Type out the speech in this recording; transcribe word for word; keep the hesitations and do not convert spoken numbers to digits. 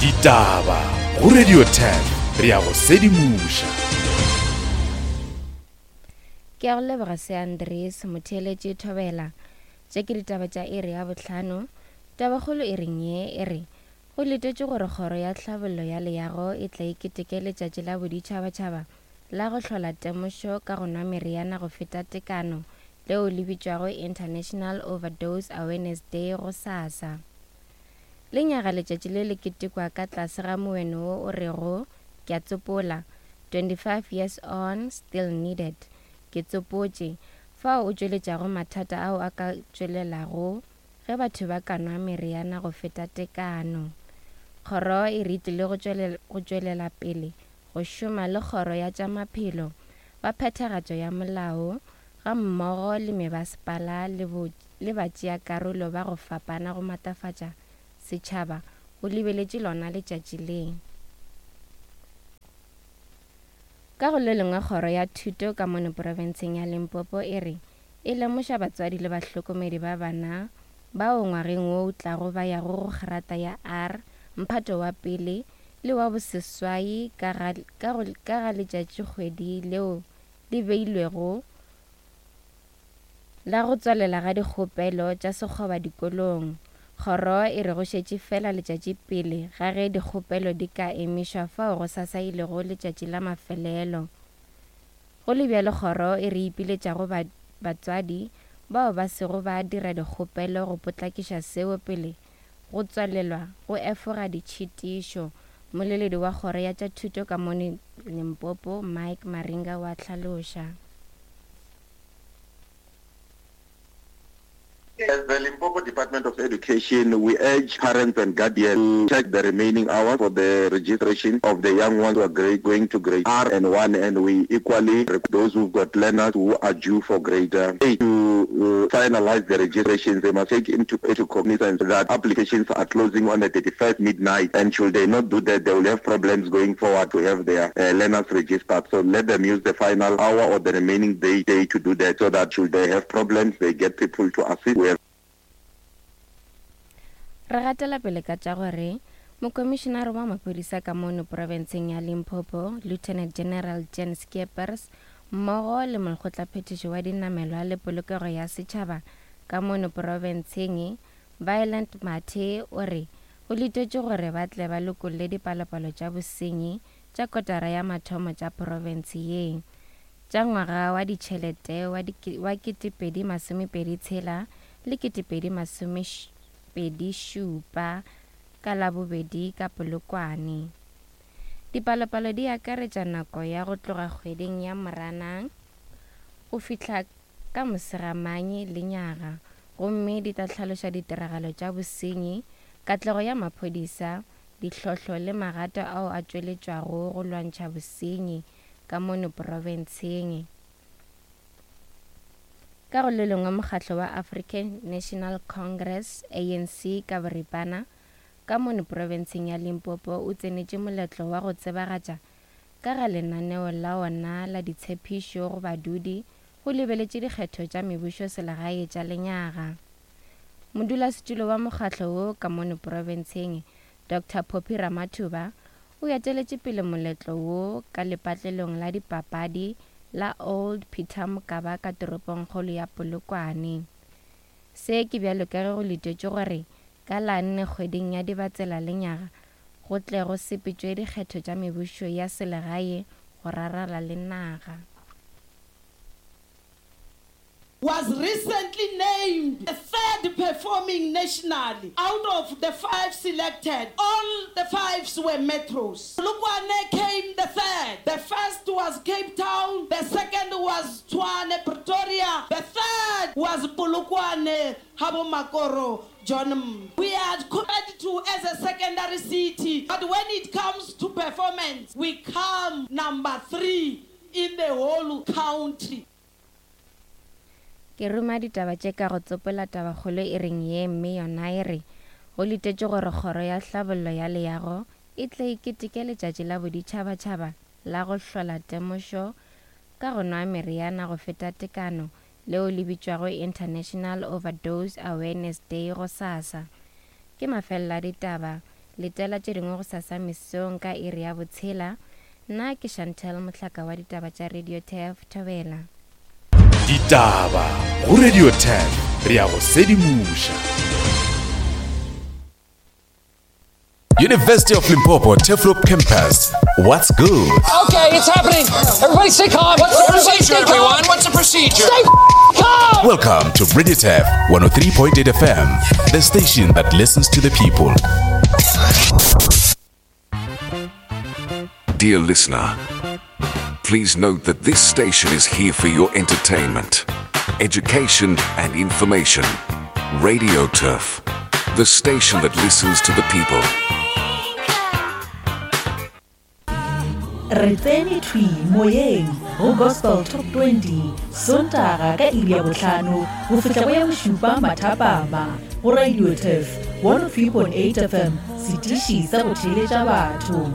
Ditaba go Radio ten re ya go sedimoša. Ke a go leboga se Andres motheeletše Thobela. Tše ke ditaba tša iri ya bohlano. Tabakgolo e reng ye e re go letetše gore kgoro ya tlhabollo ya leago e tla iketeke letšatši la boditšhabatšhaba la go hlola temošo ka go nwa meriana go feta tekano leo le bitšwago International Overdose Awareness Day go sasa. Lenyaga letšatši le le ketekwa ka tlase ga moeno wo o rego ke a tsopola twenty-five years on still needed ke tsopotše fao o tšweletšago mathata ao a ka tšwelelago ge batho ba ka nwa meriana go feta tekano. Kgoro e re tlile go tšwelela pele go šoma le kgoro ya tša maphelo ba phethagatšo ya molao ga mmogo le mebasepala le batšeakarolo ba go fapana go matlafatša setšhaba go lebeletše lona letšatši le. Ka go le lengwe kgoro ya thuto ka mono profenseng ya Limpopo e re e lemoša batswadi le bahlokomedi ba bana bao ngwageng wo o tlago ba yago go grata ya R mphato wa pele le wa boseswai ka ga, ka ka ga letšatšikgwedi leo le beilwego la go tswalela ga dikgopelo tša sekgoba dikolong. Kgoro e re go šetše fela letšatši pele ga ge dikgopelo di ka emišwa fao go sasa e lego letšatši la mafelelo. Go le bjalo kgoro e re ipiletša go batswadi bao ba sego ba dira dikgopelo go potlakiša seo pele go tswalelwa go efoga ditšhitišo. Moleledi wa kgoro ya tša thuto ka mono Limpopo Mike Maringa wa hlaloša. As the Limpopo Department of Education, we urge parents and guardians to check the remaining hours for the registration of the young ones who are grade, going to grade R and one, and we equally those who've got learners who are due for grade eight to uh, finalize the registrations. They must take into, into cognizance that applications are closing on the thirty-first midnight, and should they not do that, they will have problems going forward to have their uh, learners registered. So let them use the final hour or the remaining day, day to do that, so that should they have problems, they get people to assist. We Re gatela pele ka tša gore mokomišenare wa maphodisa ka mono profenseng ya Limpopo Lieutenant General Jan Skeepers mmogo le molekgotlaphethiši wa dinamelwa le polokego ya setšhaba ka mono profenseng Violent Mathe o re go letetše gore ba tle ba lokolle dipalopalo tša bosenyi tša kotara ya mathomo tša profense ye tša ngwaga wa ditšhelete wa ketepedi masomepedi tshela le ketepedi masome pedi šupa ka Labobedi ka Polokwane. Dipalopalo di akaretša nako ya go tloga kgweding ya Moranang go fihla ka Mosegamanye lenyaga, gomme di tla hlaloša ditiragalo tša bosenyi, katlego ya maphodisa, ditlhohlo le magato ao a tšweletšwago go lwantšha bosenyi ka mono profenseng. Ka go le lengwe mokgatlo wa African National Congress A N C ka boripana ka mono profenseng ya Limpopo o tsenetše moletlo wa go tsebagatša ka ga lenaneo la ona la ditshepišo go badudi go lebeletše dikgetho tša mebušo selegae tša lenyaga. Modulasetulo wa mokgatlo wo ka mono profenseng Doctor Phophi Ramathuba o eteletše pele moletlo wo ka lepatlelong la dipapadi la Old Peter Mokaba ka toropongkgolo ya Polokwane. Se ke bjalo ka ge go letetše gore ka la nne kgweding ya Dibatsela lenyaga go tle go sepetšwe dikgetho tša mebušo ya selegae go rarala le naga. Was recently named the third performing nationally out of the five selected. All the fives were metros. Polokwane came the third. The first was Cape Town. The second was Tshwane, Pretoria. The third was Polokwane, Habomakoro, John. We are compared to as a secondary city, but when it comes to performance, we come number three in the whole country. Ke ruma ditaba tše ka go tsopola tabakgolo e reng ye mme yona e re go letetše gore kgoro ya tlhabollo ya leago e tle e keteke letšatši la boditšhabatšhaba la go hlola temošo ka go nwa meriana go feta tekano leo le bitšwago International Overdose Awareness Day go sasa. Ke mafelelo a ditaba. Letela tše dingwe gosasa mesong ka iri ya botshela. Nna ke Chantel Mohlaka wa ditaba tša Radio Turf Thobela. Ditaba go Radio Turf, re a go sedimoša. University of Limpopo Turfloop Campus. What's good? Okay, it's happening. Everybody stay calm. What's the Everybody procedure, stay calm. everyone? What's the procedure? Stay calm. Welcome to Radio Turf one oh three point eight F M, the station that listens to the people. Dear listener, please note that this station is here for your entertainment, education, and information. Radio Turf, the station that listens to the people. Re tsene thwi moyeng go Gospel Top twenty Sontaga ka iri ya bohlano go fihla go ya bošupa mathapama go Radio Turf one oh three point eight F M, setiši sa go theeletša batho.